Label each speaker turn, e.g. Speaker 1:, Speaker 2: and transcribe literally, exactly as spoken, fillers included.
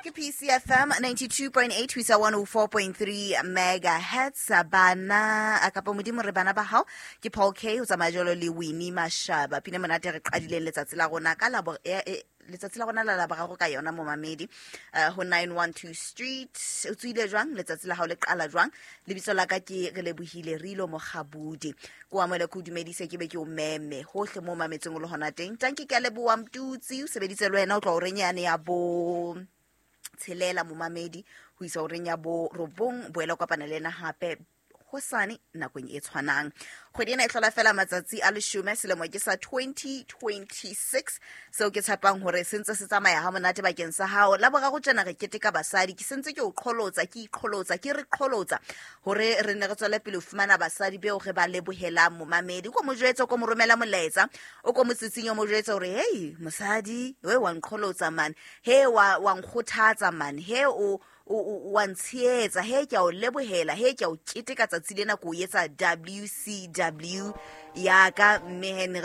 Speaker 1: Ke P C F M ninety-two point eight ho isa one oh four point three megahertz. Bana kapa modimo re bana ba hao ke Paul K ho tsamaya jwalo le Winnie Mashaba. Pine monate re qadileng letsatsi la rona ka labo eh, eh, letsatsi la rona la Laboraro ka yona, momamedi, uh, ho nine one two Street. O tswile jwang? Letsatsi la hao le qala jwang? Lebitso la ka ke re lebohile Rilo Mokgabudi. Ko amohele, ke o dumedise, ke be ke o meme hohle mo mametseng o le hona teng. Tanki, ke a leboha. Mtutsi o sebeditse le wena o tloha horeng yane ya bo tshelela, momamedi, ho isa horeng ya bo robong. Boela o kopana le ena hape hosane nakong e tshwanang. Kgwedi ena e hlola fela matsatsi a leshome, selemo ke sa twenty twenty-six, seo ke tshepang hore se ntse se tsamaya ha monate bakeng sa hao. La boraro tjena re keteka basadi. Ke sentse ke o qholotsa, ke iqholotsa, ke re qholotsa hore re ne re tswele pele ho fumana basadi beo re ba lebohelang. Momamedi, ko mo jwetse, ko mo romela molaetsa, o ko motsitsing, o mo jwetse hore hei mosadi we, wa nqholotsa man, he wa wa nkgothatsa man, he o o o- wa ntshehetsa, he ke a o lebohela, he ke a o keteka tsatsi lena, ko o etsa W C W ya ka. Mme he ne re